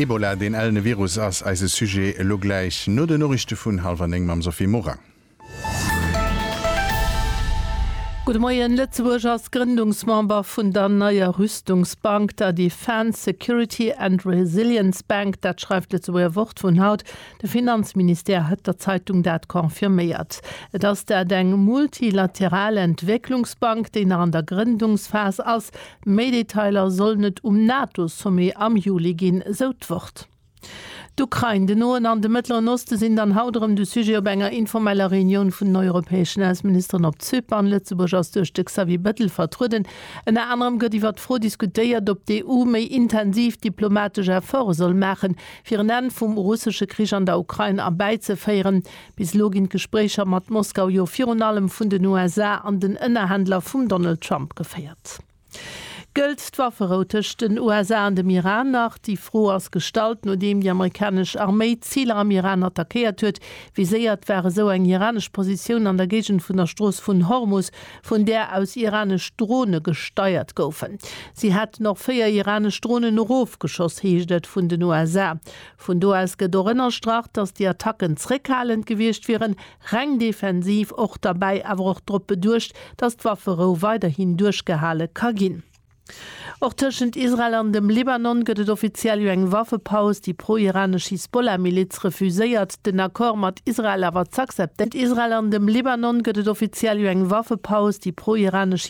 Ebola, deen ellene Virus, ass eise Sujet elo gläich no den Noriichte vun hallwer 9 mam Sophie Morang. Gudde Moien. Lëtzebuerg ass Grëndungsmember vun der neier Rüstungsbank, der Defence Security and Resilience Bank. Dat schreift d'Lëtzebuerger Wort vun haut. De Finanzministère huet der Zeitung dat confirméiert. Et ass dat eng multilateral Entwécklungsbank, déi nach an der Grëndungsphas ass. Méi Detailer sollen et um NATO-Sommet am Juli ginn, sou d'Wort. D'Ukrain, den Noen an de Mëttleren Oste sinn dann haut erëm de Sujet op enger informeller Reunioun vun den europäeschen Ausseministeren op Zypern. Lëtzebuerg ass duerch de Xavier Bettel vertrueden. Ënner anerem gëtt iwwer d'Fro diskutéiert, ob d'EU méi intensiv diplomatesch Efforte soll maachen, fir en Enn vum russesche Krich an der Ukrain erbäizeféieren. Bis elo ginn d'Gespréicher mat Moskau jo virun allem vun den USA an den Ënnerhändler vum Donald Trump geféiert. Gëllt d'Wafferou tëscht den USA an dem Iran nach? Déi Fro ass gestallt, nodeem déi amerikanesch Arméi Ziler am Iran attackéiert huet. Viséiert war esou eng iranesch Positioun an der Géigend vun der Strooss vun Hormus, vun där aus iranesch Drone gesteiert goufen. Si hätten och 4 iranesch Dronen erofgeschoss, heescht et vun den USA. Vun do aus gëtt och ënnerstrach, datt déi Attacken zréckhalend gewiescht wieren, Reng defensiv, och derbäi awer och drop beduecht, datt d'Wafferou weiderhin duerchgehale ka ginn. Och tëschent Israel an dem Libanon gëtt et offiziell jo eng Waffepaus. Déi pro-iranesch Hisbollah-Miliz refuséiert, den Accord mat Israel awer z'akzeptéieren. Israel an dem Libanon gëtt et offiziell jo eng Waffepaus. Déi pro-iranesch.